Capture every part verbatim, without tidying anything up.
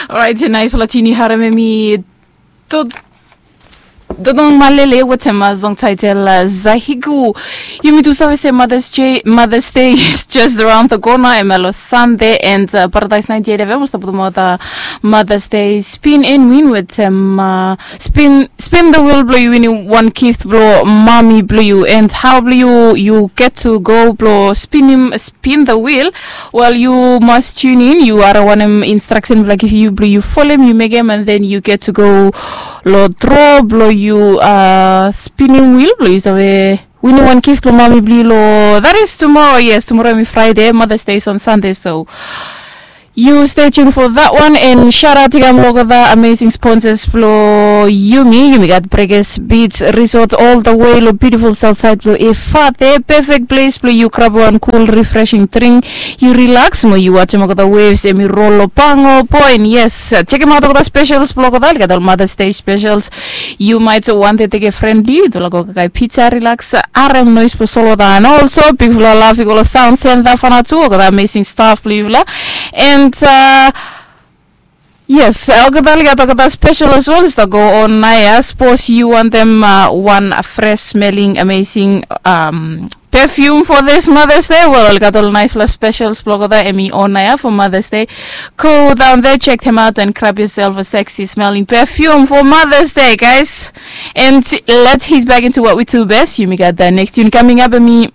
Orait, naispela tune yu harim em i Dodong Malele wetem song title Zahigu. Yumi tu save se Mother's Day is just around the corner, em ya lo Sunday, and Paradise ninety-eight F M was putum out Mother's Day spin and win wetem spin spin the wheel, blo yu winim wan gift blo mami blo yu, and how blo yu yu get to go blo spinim spin the wheel. Wel, yu mas tune in, yu harim wanem instruction blo giv yu, blo yu folem, yu mekem, and then yu get to go lo draw blo yu spinim wheel blo yu save winim wan gift lo mami blo yu lo, that is tomorrow. Yes, tomorrow em i Friday, Mother's Day is on Sunday, so yu stay tuned for that one, and shout out to olgeta amazing sponsors blo yumi. Yumi gat Breakers Beach Resort all the way lo beautiful south side blo Efate, perfect place blo yu grab wan cool refreshing drink, yu relax mo yu wajem olgeta waves em i roll lo Pango Point. Yes, chekem aot olgeta specials blo olgeta, olgeta ol Mother's Day specials. Yu maet wantem tekem fren blo yu tu lo go kakae pizza, relax, harem noes blo solwota, and also bigfala love i go lo Sound Center Vanuatu, olgeta amazing staff blo yufala. And yes, olgeta oli gat olgeta special as well i stap go on naoia. Sapos yu wantem wan fresh smelling amazing perfume for this Mother's Day, wel, oli gat ol naispela specials blo olgeta em i on naoia for Mother's Day. Go down there, check them out and grab yourself a sexy smelling perfume for Mother's Day, guys. And let's ease back into what we do best. Yumi gat the next tune coming up, em i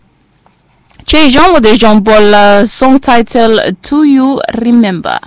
Jay Jean with the Jean Paul song title Do You Remember?